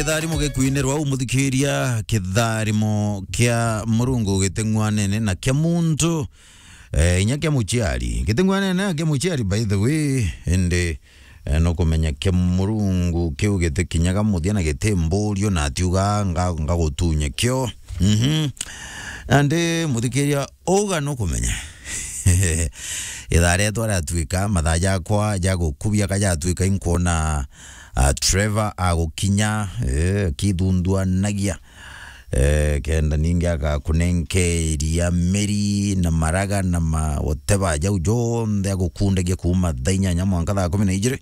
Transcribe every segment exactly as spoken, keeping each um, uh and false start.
Kitharimo gikwinirwa umuthikiria, kitharimo kia Murungu giteng'wanene na kia muntu, eh, inya kia muciari. Giteng'wanene na kia muciari, by the way, indi, eh, nukumenya kia Murungu kiu gitikinyaga muthia na gitimburio na atiuga nga-, ngagutunya kio. Mhm. Nandi muthikiria, uga nukumenya. Ithaa rietwa riatuika, mathaa jakwa ja gukubia ka jatuika, inkwona, ah, Trevor agukinya, eh, akithunduanagia. Eh, kenda ningi agakunenkeria miri na maraga na ma whatever jau jonthe agukundagia kuuma thaa inyanya mwanka thaa kumi na ijiri.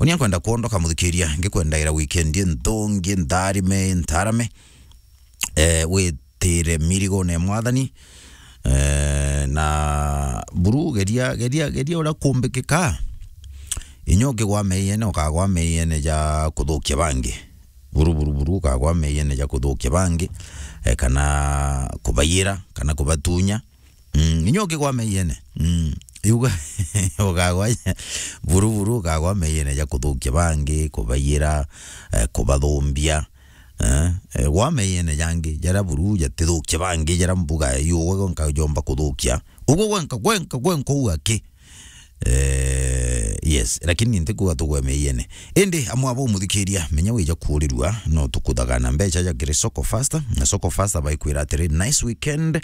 Uni nkwenda kwondoka muthikiria, ngikwendaira weekend inthungi, ntharime, ntarame. Eh, witire mirigone ya Mwathani. Eh, na buru, geria, geria, geria uria kumbikika. Inya ukigwa meiene, ukagwa meiene ja kuthukia bangi. Buru, buru, buru, ukagwa meiene ja kuthukia bangi, eh, kana kubayira, kana kubatunya. Mm, inya ukigwa meiene. Mm, iuga, ukagwa buru, buru, ukagwa meiene ja kuthukia bangi, kubayira, eh, kubathumbia. Eh, eh, gwa meiene jangi, jaria buru jatithukia bangi, jaria mbuga iugwe gwenka jomba kuthukia. Ugwe gwenka, gwenka, gwenka uu aki. Eh, yes, lakini ntikuga tugwe meiene. Indi amwe abo umuthikiria, menya wija kuurirua, no tukuthagana mbecha ja kiri Soko Faster, na Soko Faster baikwira atiri, "Nice weekend,"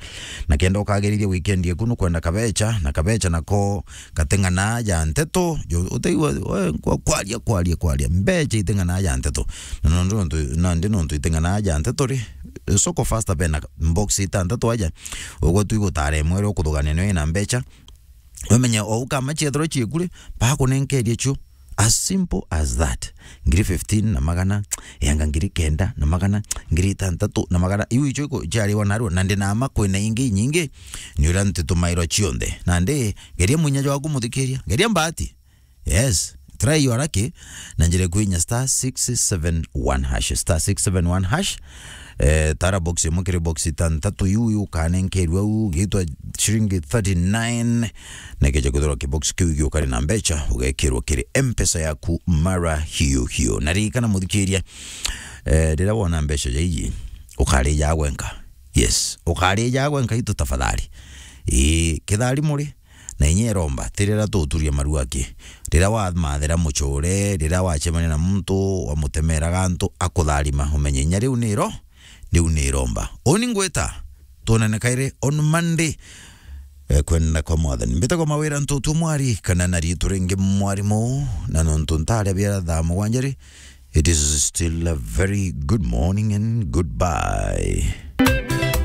na kenda ukagiriria weekend yaku nukwenda kabecha, na kabecha nako gateng'ana ja nteto, jo, utaigua, we, kwa-, kwaria, kwaria, kwaria, mbecha iteng'ana ja nteto. Na nontu, nontu, nandi nontu iteng'ana ja nteto ri, Soko Faster bena box itantatu aja, ugwe tu igutara imwe ria ukuthugania nio ina mbecha, Wamenye o ukama ciethirwa ciekuri, bakunenkerie cio. As simple as that. Ngiri fifteen na magana, yanga ngiri kenda na magana, ngiri itantatu na magana. Iu icio iku-, ciariwa narua, na ndinama kwina ingi inyingi, ni uria ntitumairwa cionthe. Nandi, geria mwinya jwaku muthikiria, geria mbati. Yes, try your lucky, na njira kwinya star six seven one hash, star six seven one hash. Eh, tara box imwe kiri box itantatu iu, iu ukanenkerua u, gitwa ciringi thirty-nine, na ikeja kwithirwa kibox kiu giukari na mbecha, ugekirwa kiri M-Pesa yaku mara hiyo hiyo. Na ririkana muthikiria, eh, riria wona mbecha ja iji, ukarija gwenka. Yes, ukarija gwenka itu tafadhali. Ii, kithari muri, na inya iromba, ti riria tuturia maru aki. Riria wamathira mucure, riria wacemania na muntu, wamutemera gantu, akutharima, umenye inya riu ni iro-, riu ni iromba. Uni ngwita, tuonane kairi on Monday. Eh, kwenda kwa Mwathani. Mbitagwa Mawira Ntutu Mwari, kana na ritu ringi Mwarimu, na nontu ntaria bia thaa mugwanja ri, it is still a very good morning and goodbye.